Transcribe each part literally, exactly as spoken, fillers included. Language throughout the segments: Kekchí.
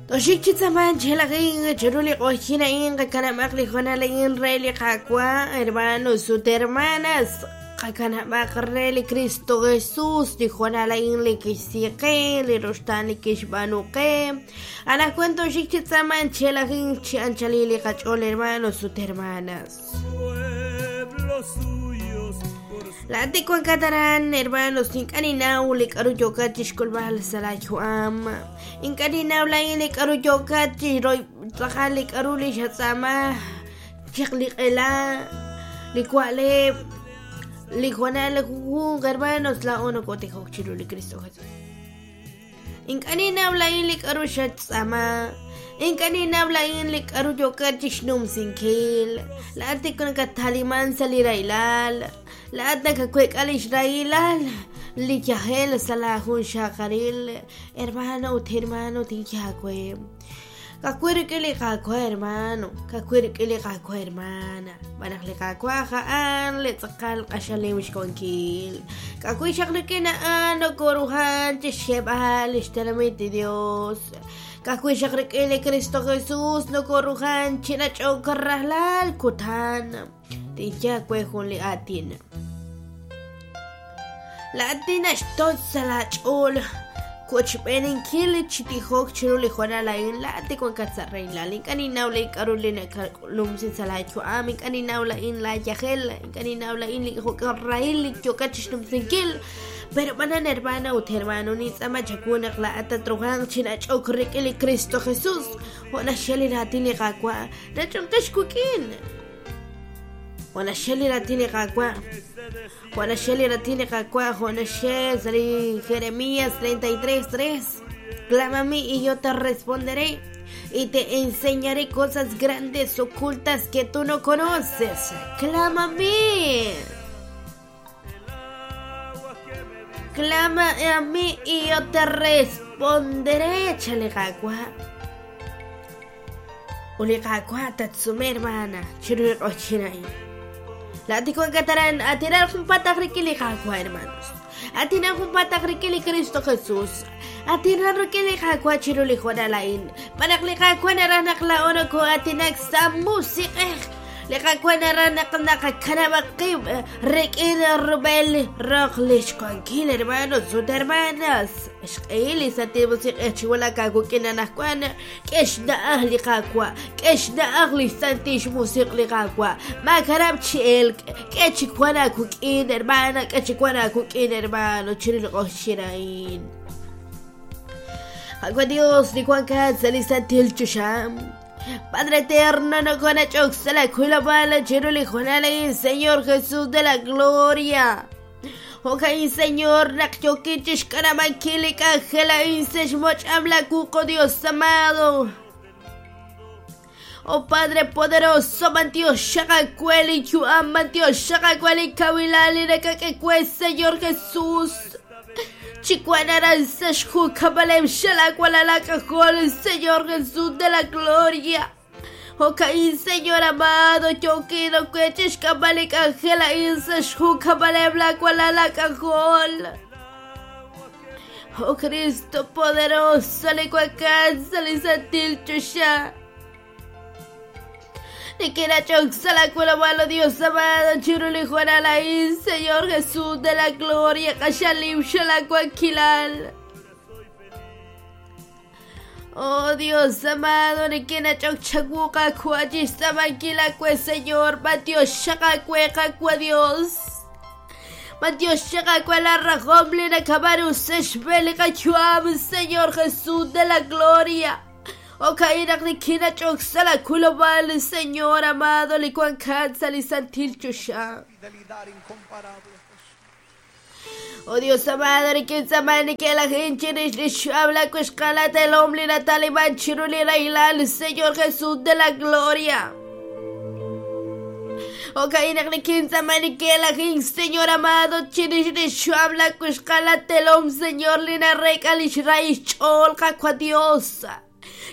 Toxik chi tzaman chelajin chiru li q'oxin a'in qakanab'aq li hoonal a'in re li Qaawa', hermanos ut hermanas, qakanab'aq re li Cristo Jesús li hoonal a'in li kixsi qe, li ruxtaan li kixb'aanu qe. Anaqwan toxik chi tzaman chelajin chi anchalil li qach'ool, hermanos ut hermanas. Pueblos suyos por su Laat wankat aran, hermanos, ink'a' ninnaw li k'aru yookat chixk'ulb'al sa' laayu'am. Ink'a' ninnaw laa'in li k'aru yookat chi tz'aqal li k'aru li xatz'aama, chaq li q'ela, li wa'leb', li hoonal junjunq, hermanos, laa'o nokotijok chiru li Cristo Jesús. Ink'a' ninnaw laa'in li k'aru xatz'aama. Ink'a' ninnaw laa'in li k'aru yookat chixnumsinkil. Laat tik nakataliman sa' li rahilal. Laat nakaweek'a li xrahilal li yajel sa' laajunxaqaril. Hermano ut hermano tinye aawe. Ka'ajwi' rik'in li Qaawa', hermano. Ka'ajwi' rik'in li Qaawa', hermana. B'anaq li Qaawa' a'an li tz'aqal q'axal nim xwankil. Ka'ajwi' xaq rik'in a'an nokoruhan chixxeb'al li xtenamit li Dios. Ka'ajwi' xaq rik'in li Cristo Jesús nokoruhan chinach'ok rajlal kutan. Tinye aawe jun li aatin. Laat naxtoch sa' laach'ool kochb'eeninkil chi tijok chiru li hoonal a'in. Laat wankat sa' rahilal. Ink'a' ninnaw li k'aru li nakalumsi sa' laayu'am. Ink'a' ninnaw laa'in laayajel. Ink'a' ninnaw laa'in li rahil li yookat chixnumsinkil. Pero b'anan, hermana ut hermano, nintz'aama chawu naq laa'at tatruhanq chinach'ok rik'in li Cristo Jesús. Jo' naxye li raatin li Qaawa', nach'onqex wik'in. Jo' naxye li raatin li Qaawa', jo' naxye li raatin li Qaawa', jo' naxye sa' li Jeremías treinta y tres, tres. Clama a mí y yo te responderé y te enseñaré cosas grandes ocultas que tú no conoces. Clama a mí. Clama a mí y yo te responderé. Échale Qaawa'. Uli Qaawa' tatsume, hermana. Chiru li q'oxin a'in. Laat wankat aran, atinar junpataq rik'in li Qaawa', hermanos. Atinar junpataq rik'in li Cristo Jesús. Atinar rik'in li Qaawa' chiru li hoonal a'in. B'anaq li Qaawa' naraj naq laa'o nokoo'atinak sa' musiq'ej. Li Qaawa' naraj naq naqakanab'aq qib' rik'in rub'el roq li xwankil, hermanos ut hermanas. Xq'ehil li Santil Musiq'ej chiwulak aawik'in anaqwan. K'e xna'aj li Qaawa', k'e xna'aj li Santil Musiq' li Qaawa'. Maakanab' chi elk, k'e chi wan aawik'in, hermana, k'e chi wan aawik'in, hermano, chiru li q'oxin a'in. Qaawa' Dios, li wankat sa' li Santil Choxa. Padre eterno, no conachok la cuila chiru li hoonal a'in, Señor Jesús de la gloria. Jo'kan, Señor, naq yookin chixk'anab'ankil li k'anjel a'in sa' xmoch'am la wuq', Dios amado. Oh Padre poderoso, mantiox xaqakwe li yu'am, mantiox xaqakwe li kawilal li nakak'e, Señor Jesús. Chicuanaran sa xjukabalem xalacualalacajol, Señor Jesús de la gloria. Jo'kan, Señor amado, yookin kwechixk'ab'alik ángel a'in sa xjukabalem lacualalacajol. Oh Cristo poderoso, li wankat sa' li Santil Choxa. Nikinach'ok sa' laakulab'al, Dios amado, chiru li hoonal a'in, Señor Jesús de la gloria, q'axal nim xalaawankilal. Oh Dios amado, nikinach'ok chawu Qaawa' chixtz'aamankil aawe, Señor, matiox xaqaawe, Qaawa' Dios. Matiox xaqaawe la rajom li nakab'aanu sa' xb'een li qayu'am, Señor Jesús de la gloria. Jo'kan naq nikinach'ok sa' laakulob'al, Señor amado, li wankat sa' li Santil Choxa. Fidelidad incomparable, Jesús. Oh Dios amado, nikintz'aama nikelajin chirix li xyu'am lakuxqalat elom li nataliman chiru li rahilal, Señor Jesús de la gloria. Jo'kan naq nikintz'aama nikelajin, Señor amado, chirix li xyu'am lakuxqalat elom, Señor, li narek'a li xrahil xch'ool Qaawa' Dios.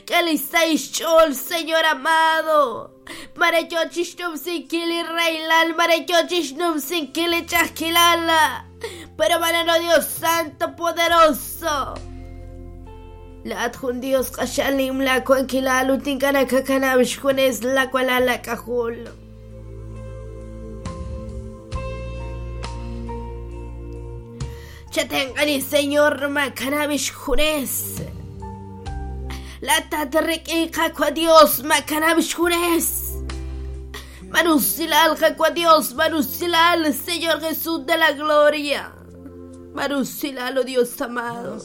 Que li xch'ool, Señor amado. Mareyochixnumsinkil rahilal, mareyochixnumsinkil ch'ajkilal. Pero manano Dios Santo poderoso. Laat jun Dios q'axalim la wankilal ut ink'a' nakakanab' xjunes la walal lak'ajol. Chatenq'ani Señor makanab' xjunes. La tatrik'i qakwa Dios makanab' xjunes. Manusilal qakwa Dios, manusilal Señor Jesús de la gloria. Manusilal, oh Dios amado.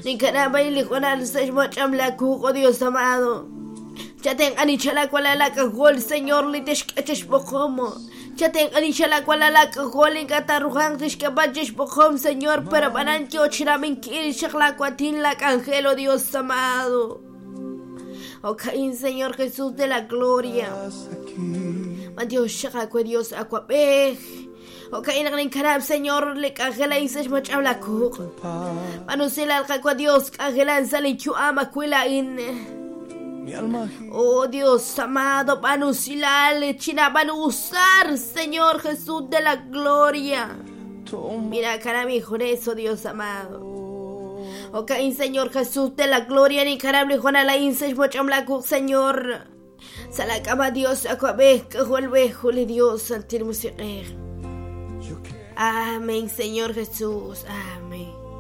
Nicaragua y Lijonal se oh Dios amado. Chaten anichala Señor liteshkacheshpojomo. Chaten anichala gol inkatarrujan tishkapacheshpojom, Señor, pero panancho chiraminkil shaclacuatin la cangelo, Dios amado. Oh Caín, Señor Jesús de la gloria. Dios shakakue Dios acuapej. O Caín karab, Señor, le cangela y se moch habla kuk. Manusila al Dios, cangela en salichu ama cuila in. Oh Dios amado, panusilal, china usar, Señor Jesús de la gloria. Mira, cara mi eso, Dios amado. O Caín, Señor Jesús de la gloria, ni carable Juan la Señor. Salacama Dios, acuabej, vuelve, juli Dios, santir musiquer. Amén, Señor Jesús. Amén.